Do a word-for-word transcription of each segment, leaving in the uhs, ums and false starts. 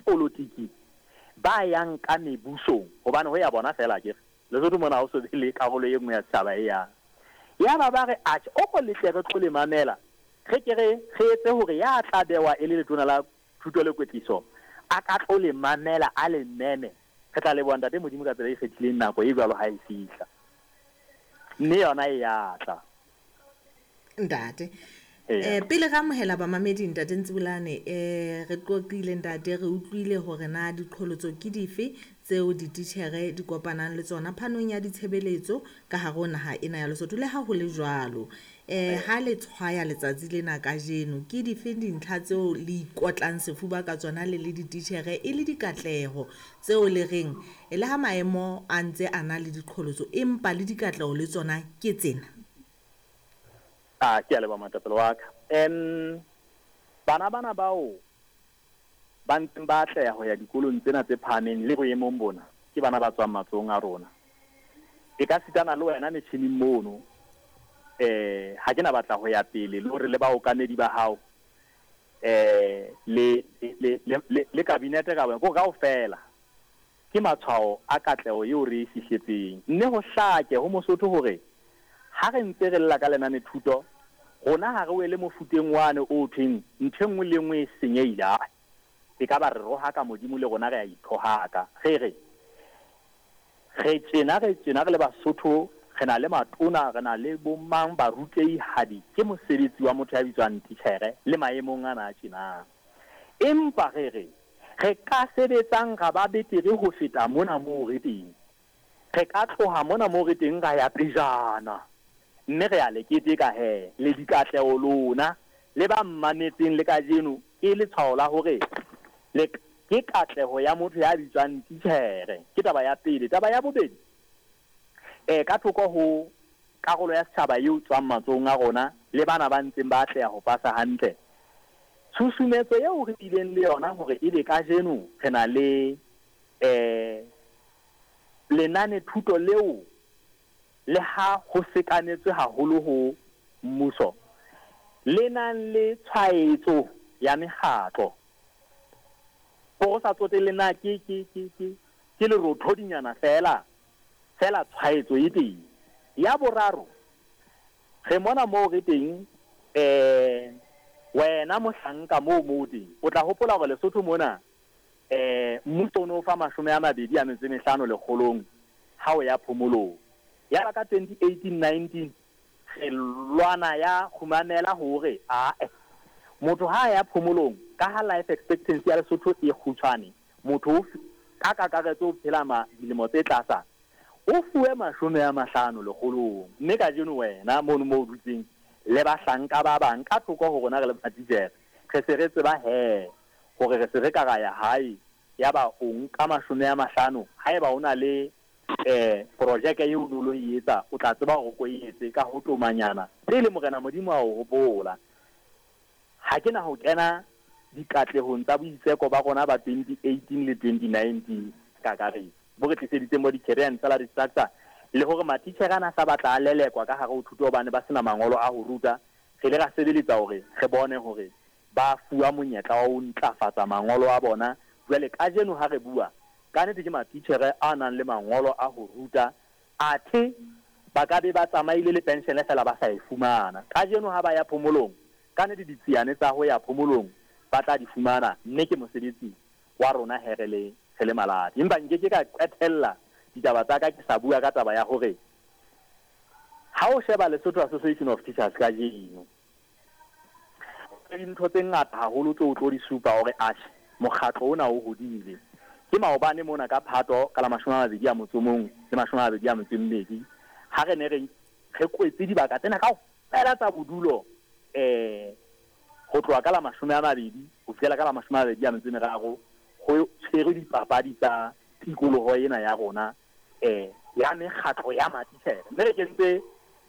Polotiki ba yang ka mebusong, hobane ho ya bona feela akere Lesotho mona ha ho so be le karolo e nngwe ya setjhaba e yang. Yaba ba re, atjhe, o ko letle re tlo le mamela, re ke re re etse hore ya tla bewa e le letona la thuto le kwetliso a ka tlo le mamela, a le meme. Re tla leboha Ntate Modimo ka tsela e ikgethileng nako e jwalo ha e fihla. Mme yona e ya tla. Ntate. Eh, pele re amohela bamamedi, Ntate Ntsibolane, eh, re qoqile ntate, re utlwile hore na diqholotso ke dife tseo dititjhere di kopanang le tsona phanong ya ditshebeletso ka hare ho naha ena ya Lesotho. Le ha ho le jwalo, eh, ha le tshwaya letsatsi lena kajeno, ke dife dintlha tseo le ikotlang sefuba ka tsona le le dititjhere e le dikatleho tseo le reng le ha maemo a ntse a na le diqholotso, empa le dikatleho le tsona ke tsena? Ah, ke a leboha moetapele wa ka. Um, bana bana bao ba ntseng ba atleha ho ya dikolong tsena tse phahameng le boemong bona, ke bana ba tswang matsohong a rona. E ka sitana le wena metjhining mono, eh, ha ke na batla ho ya pele le hore le baokamedi ba hao, eh, le, le, le, le, le kabinete ka wena, ko kaofela ke matshwao a katleho eo re e fihletseng. Mme ho hlake ho Mosotho hore ha re ntse re lla ka lenane thuto, rona ha re wele mofuteng wane o thweng ntho e nngwe le nngwe e senyehile. Ae, e ka ba re rohaka Modimo le rona re a ithohaka. Re re, re tjena, re tjena re le Basotho, re na le matona, re na le bomang barutehadi, ke mosebetsi wa motho ya bitswang titjhere le maemong ana a tjenang. Empa re re, re ka sebetsang ra ba betere ho feta mona moo re teng. Re ka tloha mona moo re teng ra ya pejana. Mme re a le keteka he, le dikatleho lona, le ba mmametseng le kajeno, ke letshwao la hore le ke katleho ya motho ya bitswang titjhere. Ke taba ya pele. Taba ya bobedi, eh, ka thoko ho karolo ya setjhaba eo tswang matsohong a rona le bana ba ntseng ba atleha ho pasa hantle, tshusumetso eo re bileng le yona hore ebe kajeno re na le, eh, lenane thuto leo le ha ho sekametswe haholo ho mmuso, le nang le tshwaetso ya mekgatlo. Hore o sa tsotelle na ke, ke, ke, ke, ke lerothodinyana feela, feela tshwaetso e teng. Ya boraro, re mona moo re teng, eh, wena mohlanka moo moo teng, o tla hopola hore Lesotho mona, eh, mmuso o no fa mashome a mabedi a metso e mehlano lekgolong ha o ya phomolong. Ya ba ka twenty eighteen nineteen re lwana ya kgumamela hore ae motho ha ya phomolong, ka ha life expectancy ya Lesotho e kgutshwane, motho o ka kakaretso o phela ma dilemo tse tlasa, o fuwe mashome a mahlano lekgolong. Mme kajeno wena mono moo o dutseng le bahlanka ba bang ka thoko ho rona re le matitjhere, re se re tseba he hore re se re ka ra ya hae, ya ba o nka mashome a mahlano. Haeba o na le eh projeke eo o lo e etsa, o tla tseba hore o e etse ka ho tomanyana pele Morena Modimo a o hopola. Ha ke na ho kena dikatlehong tsa boitseko ba rona ba twenty eighteen le twenty nineteen kakaretso, bo re tliseditseng bo di-career and salary structure, le hore matitjhere ana sa batla a lelekwa ka hare ho thuto hobane ba sena mangolo a ho ruta. Re ile ra sebeletsa hore re bone hore ba fuwa monyetla wa ho ntlafatsa mangolo a bona. Jwale kajeno ha re bua, ka nnete ke matitjhere a nang le mangolo a ho ruta, athe ba ka be ba tsamaile le penshene fela ba sa e fumana. Kajeno ha ba ya phomolong, ka nnete ditsiane tsa ho ya phomolong ba tla di fumana, mme ke mosebetsi wa rona he re le, re le malati. Empa nke ke ka qetella ditaba tsa ka ke sa bua ka taba ya hore ha o sheba Lesotho Association of Teachers kajeno, dintho tse ngata haholo tseo o tlo di supa hore atjhe mokgatlo ona o hodile. Ke maobane mona ka Phato ka la mashome a mabedi a motso o mong le mashome a mabedi a metso e mmedi, ha re ne re, re kwetse dibaka tsena kaofela tsa bodulo, eh, ho tloha ka la mashome a mabedi ho fihlela ka la mashome a mabedi a metso e meraro, ho tshwerwe dipapadi tsa tikoloho ena ya rona, eh, ya mekgatlo ya matitjhere. Mme re kentse,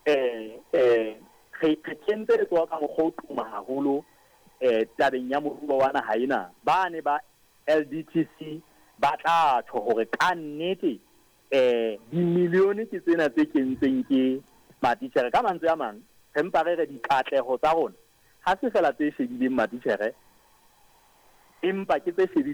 eh, eh, re, re kentse letsoho ka mokgwa o tuma haholo, eh, tabeng ya moruo wa naha ena. Ba ne ba L D T C ba tla tjho hore ka nnete, eh, dimilione ke tsena tse kentsweng ke matitjhere. Ka mantswe a mang, re mpa re re dikatleho tsa rona ha se fela tse shebileng matitjhere, empa ke tse shebileng